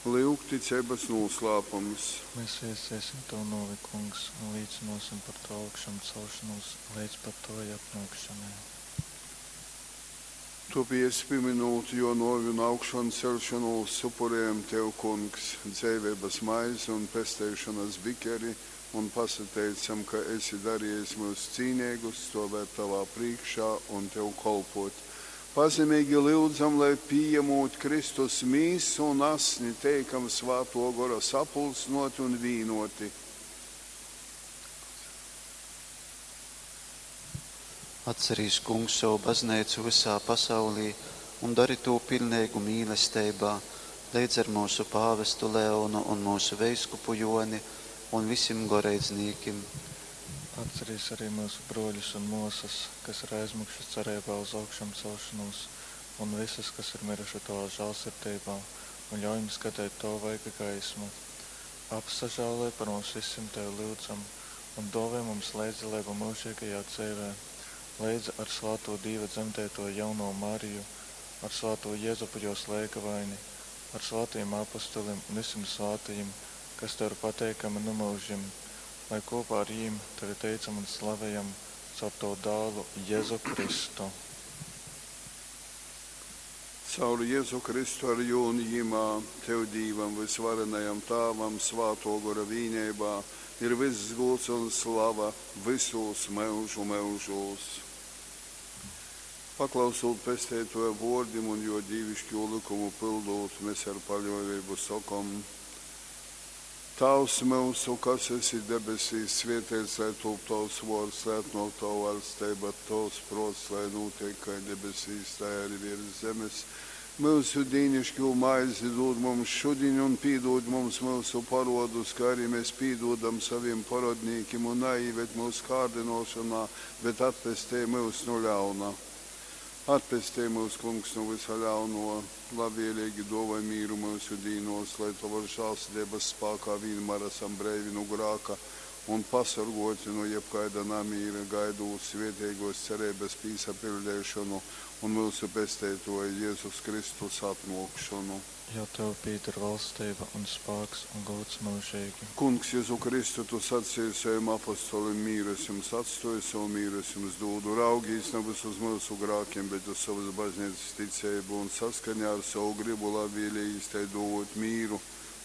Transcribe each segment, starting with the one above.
Lyugticeibas nūslāpums. Mēs viestiesim Tavu nōvi, Kungs, un līcynōsim par Tavu augšamcelšonūs leidz pat Tavai atnōkšanai. Tōpēc, pīmynūt Jō nōvi un augšanceļšonūs, upurejam Tev, Kungs, dzeiveibas maizi un pesteišonas bikeri un pasateicam, ka esi darejis myus cīneigus stōvēt Tovā prīškā un Tev kolpōt. Pazemeigi lyudzam, lai, pījamūt Kristus Mīsu un Asni, teikam Svātō Gora sapulcynōti un vīnōti. Atcerīs, Kungs, sovu bazneicu vysā pasaulī un dori tū piļneigu mīlesteibā, leidz ar myusu pāvestu Leonu un myusu veiskupu Jōni un visim goreidznīkim. Atcerīs arī myusu brōļus un mōsas, kas ir aizmiguši cereibā uz augšamcelšonūs, un vysus, kas ir myruši Tovā žālsirdeibā, un ļauj jim skateit Tova vaiga gaismu. Apsažāloj par mums visim, Tevi lyudzam, un dōvoj mums leidzdaleibu myužeigajā dzeivē, leidza ar svātū Dīva dzemdeitoju jaunovu Mariju, ar svātū Jezupu jōs leigavaini, ar svātajim apostolim un vysim svātajim, kas Tev ir pateikami nu myužim, lai kopā ar jīm Tevi teicam un slavejam caur Tavu dālu Jezu Kristu. Caur Jezu Kristu ar Jū un Jymā, Tev, Dīvam vysvarenajam Tāvam, Svātō Gora vīneibā, ir vyss gūds un slava vysūs myužu myužūs. Paklausūt Pesteitōja vōrdim un Jō dīviškū lykumu pyldūt, mes ar paļōveibu sokom, Tāvs myusu, kas esi debesīs, svēteits lai tūp Tovs vōrds, lai atnōk Tova vaļsteiba, Tovs prōts lai nūteik kai debesīs, tai arī virs zemes. Myusu dīniškū maizi dūd mums šudiņ un pīdūd mums myusu parodus, kā arī mēs pīdūdam saviem parodnīkim, un naīved mūsu kārdinošanā, bet atpestej mūs no ļauna. Atpestej mūs, Kungs, no visa ļauno, labvēlīgi dāvāj mīru mūsu dīnos, lai Tavas žēlsirdības spēkā vienmēr esam breivi no grāka un pasargoti no jebkaida namīra, gaidot svētīgos cerības pīsapildīšanu un mūsu Pesteitoja Jēzus Kristus atnākšanu. Jo Tev pieder valstība un spēks un gods mūžīgi. Kungs, Jēzu Kristu, Tu sacīji saviem apostolim, mīru es jums atstoju, savu mīru es jums dodu. Raugīs nevis uz mūsu grākiem, bet uz savas baznīcas ticību un saskaņā ar savu gribu labvēlīgi tai dot mīru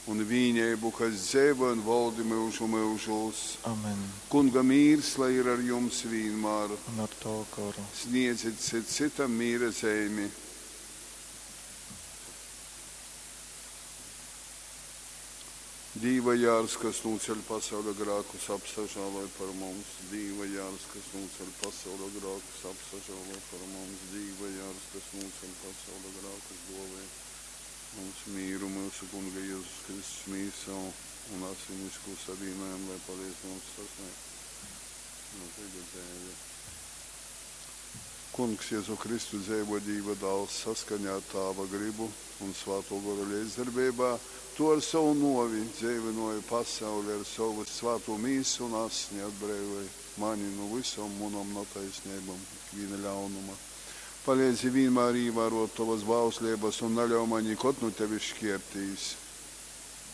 un vīnību, kas dzīvo un valdi mūžu mūžos. Amen. Kunga mīrs, lai ir ar jums vienmēr. Un ar Tavu goru. Sniedziet cit citam mīra zīmi. Dīva jārs, kas nūceļ pasaules grākus, apsažāloj par mums. Dīva jārs, kas nūceļ pasaules grākus, apsažāloj par mums. Dīva jārs, kas nūceļ pasaules grākus, dāvāj mums mīru, mūsu Kunga Jēzus Kristus mīsa un asinisku savienojumu, lai palīdz mums sasniegt mūžīgu dzīvi. Kungs Jēzu Kristu dzīvo Dīva dāls saskaņā ar Tāva gribu un Svēto Gora līdzdarbībā, tu ar savu novi dzīvinoji pasauli ar savu svēto mīsu un asni atbrīvoji mani no visām manām netaisnībām, ikviena ļaunuma. Palīdzi vienmēr ievērot tavas bauslības un neļauj man nekad no tevis šķirtīs.